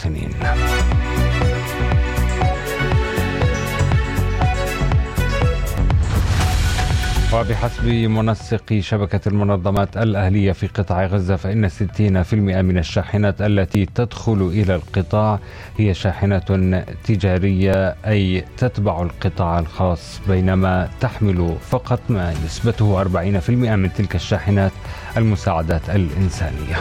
المواطنين. وبحسب منسق شبكة المنظمات الأهلية في قطاع غزة فإن 60% من الشاحنات التي تدخل إلى القطاع هي شاحنات تجارية، أي تتبع القطاع الخاص، بينما تحمل فقط ما نسبته 40% من تلك الشاحنات المساعدات الإنسانية.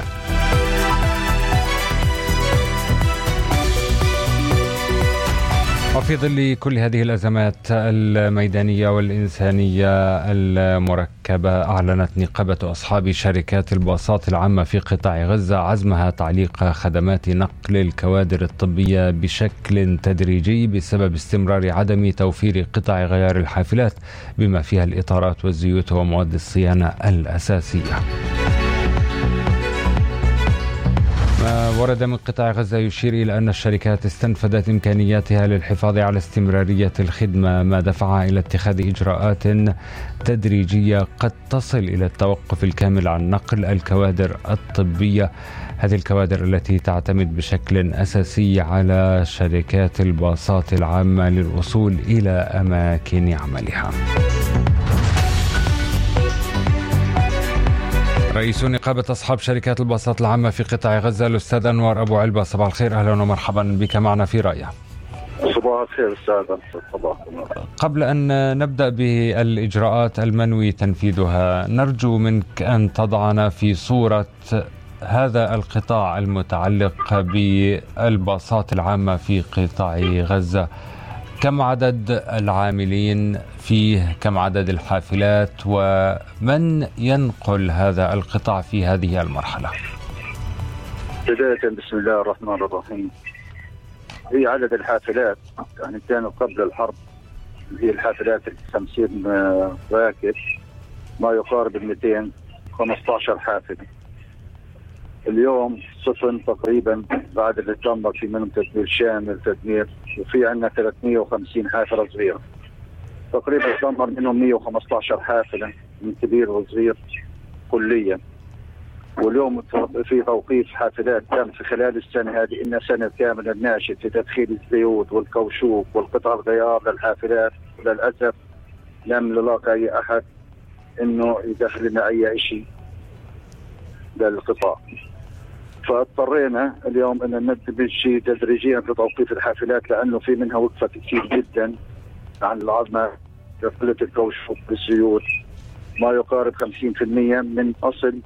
وفي ظل كل هذه الأزمات الميدانية والإنسانية المركبة، أعلنت نقابة أصحاب شركات الباصات العامة في قطاع غزة عزمها تعليق خدمات نقل الكوادر الطبية بشكل تدريجي بسبب استمرار عدم توفير قطع غيار الحافلات بما فيها الإطارات والزيوت ومواد الصيانة الأساسية. ما ورد من قطاع غزة يشير إلى أن الشركات استنفذت إمكانياتها للحفاظ على استمرارية الخدمة، ما دفعها إلى اتخاذ إجراءات تدريجية قد تصل إلى التوقف الكامل عن نقل الكوادر الطبية، هذه الكوادر التي تعتمد بشكل أساسي على شركات الباصات العامة للوصول إلى أماكن عملها. رئيس نقابة أصحاب شركات الباصات العامة في قطاع غزة الأستاذ أنور أبو علبة، صباح الخير، أهلا ومرحبا بك معنا في رأيه. صباح الخير أستاذ. صباح الخير. قبل أن نبدأ بالإجراءات المنوي تنفيذها، نرجو منك أن تضعنا في صورة هذا القطاع المتعلق بالباصات العامة في قطاع غزة. كم عدد العاملين فيه؟ كم عدد الحافلات؟ ومن ينقل هذا القطاع في هذه المرحلة؟ بداية بسم الله الرحمن الرحيم. هي عدد الحافلات يعني كانوا قبل الحرب هي الحافلات 50 راكب، ما يقارب 215 حافلة. اليوم صفن تقريبا بعد اللي تم في منهم تدمير شامل تدمير، وفي عندنا 350 حافلة صغيرة تقريبا تدمر منهم 115 حافلة من كبير وصغير كليا. واليوم في توقيف حافلات تم في خلال السنة هذه، إن سنة كاملة ناشد في تدخيل الزيوت والكوشوك والقطع الغيار للحافلات، وللأسف لم نلاقي أي أحد إنه يدخل لنا أي شيء للقطاع. فاضطرينا اليوم ان ننتبه شيء تدريجيا في توقيف الحافلات، لانه في منها وقفت كثير جدا عن العظمه قله الكوشوك بالزيوت، ما يقارب 50% من اصل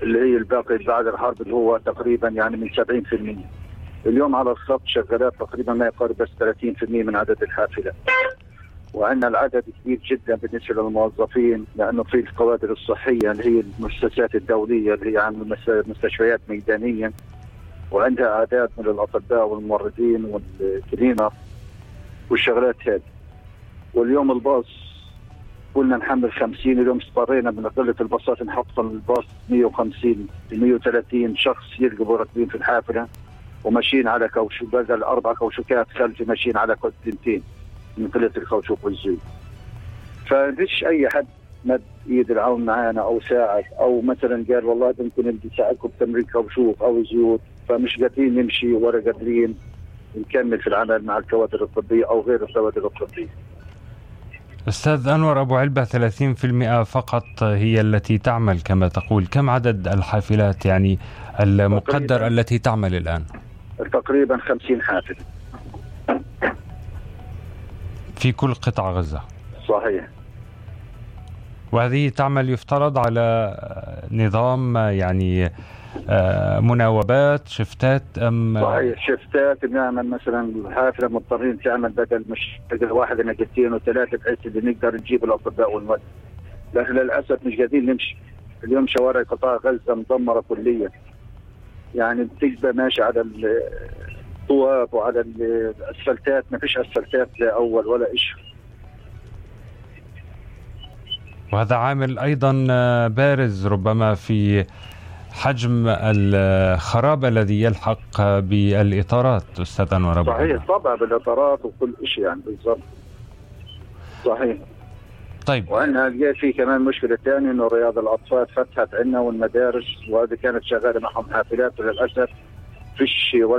اللي هي الباقي بعد الحرب اللي هو تقريبا يعني من 70%. اليوم على الخط شغالات تقريبا ما يقارب بس 30% من عدد الحافلات. وعندنا العدد كبير جدا بالنسبه للموظفين، لانه في الكوادر الصحيه اللي هي المؤسسات الدوليه اللي هي عن مستشفيات ميدانيه، وعندها اعداد من الاطباء والممرضين والكلينر والشغلات هذه. واليوم الباص قلنا نحمل 50، اليوم اضطرينا من قله الباصات نحط الباص 150 130 شخص يركبوا راكبين في الحافله وماشيين على كوشوك، بدل 4 كوشوكات خلفي ماشيين على كوتنتين من قلة الكوشوك والزيوت. فمفيش أي حد مد إيد العون معانا أو ساعد، أو مثلا قال والله ممكن بدي أساعدكم بتمرين كوشوك أو زيوت، فمش قادرين نمشي ولا قادرين نكمل في العمل مع الكوادر الطبية أو غير الكوادر الطبية. أستاذ أنور أبو علبة، 30% فقط هي التي تعمل كما تقول. كم عدد الحافلات يعني المقدر التي تعمل الآن؟ تقريبا 50 حافلة في كل قطاع غزة. صحيح. وهذه تعمل يفترض على نظام يعني مناوبات شفتات أم؟ صحيح شفتات. بنعمل مثلا الحافلة مضطرين تعمل بدل مش بدل واحد نقلتين وثلاثة بحيث اللي نقدر نجيب الأطباء والمرضى، لكن للأسف مش قادرين نمشي. اليوم شوارع قطاع غزة مدمرة كليا، يعني بتبقى ماشي على الطواب وعلى الأسفلتات، ما فيش أسفلتات لا أول ولا إشي. وهذا عامل أيضا بارز ربما في حجم الخراب الذي يلحق بالإطارات أستاذ أنور. صحيح طبعا بالإطارات وكل إشي يعني بالضبط. صحيح. طيب. وعندنا في كمان مشكلة ثانية إنه رياض الأطفال فتحت عندنا والمدارس، وهذه كانت شغالة معهم حافلات، وللأسف فيش